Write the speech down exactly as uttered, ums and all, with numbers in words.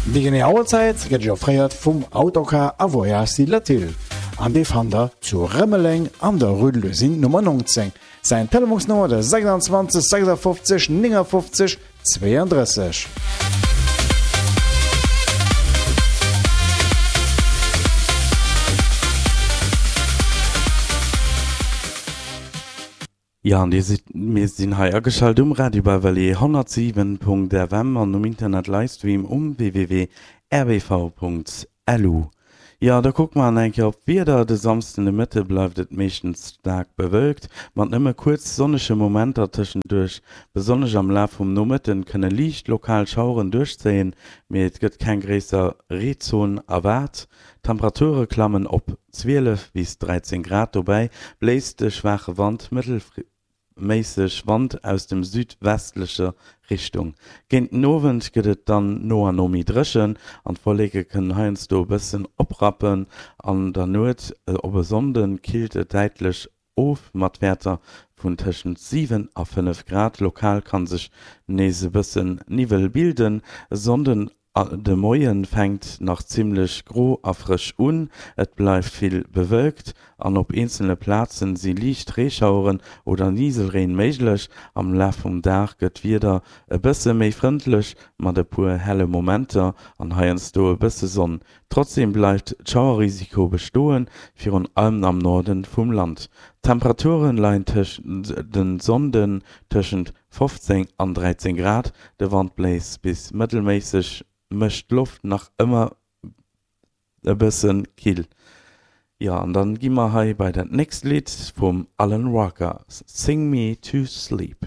Déi genee Auerzäit gëtt iech offréiert vum Autocar a Voyages Latil an dee fannt der zu Rëmeleng an der Rue de l'Usine Nummer neunzéng. Säin Telefonsnummer de sechsundzwanzeg sechsundfünfzig neunundfünfzig zweiunddrësseg. Jo, an dir sidd, mir sinn hei ageschalt um Radio Bavellier honnertsiwen Punkt F M an um Internet Livestream um w w w punkt r b v punkt l u. Jo, da kucke mer nach eng Kéier op d'Wieder. De Samsden de Mëtte bleift et meeschtens staark bewölkt, mat nëmme kuerz sonnege Momenter tëschenduerch. Besonnesch am Laf vum Nomëtte kënne liicht lokal Schaueren duerchzéien, mee et gëtt keng gréisser Reezon erwaart. D'Temperature klammen op zwielef bis dräizéng Grad, dobäi bléist de schwaache Wand mëttelméisseg Wand aus dem südwestlecher Richtung. Géint den Owend gëtt et dann no an no méi dréchen an d'Wolleke kënnen heiansdo e bëssen oprappen. An der Nuet op e Sonnde killt et däitlech of mat Wäerter vun tëschent siwen a fënnef Grad. Lokal ka sech nees e bëssen Niwwel bilden. E Sonnden de Moie fänkt nach zimmlech gro a frësch un, et bleift vill bewölkt an op eenzele Plaze si liicht Reeschaueren oder Niselreen méiglech. Am Laf vum Dag gëtt d'Wieder e bësse méi frëndlech mat e puer helle Momenter an heiansdo e bësse Sonn. Trotzdeem bleift d'Schauerrisiko bestoen, virun allem am Norde vum Land. D'Temperature leien de Sonnden tëschent fofzéng an dräizéng Grad, de Wand bléist bis mëttelméisseg, mécht d'Loft nach ëmmer e bësse kill. Jo, an dann gi mer hei bei dat nächst Lidd vum Alan Walker, Sing Me to Sleep.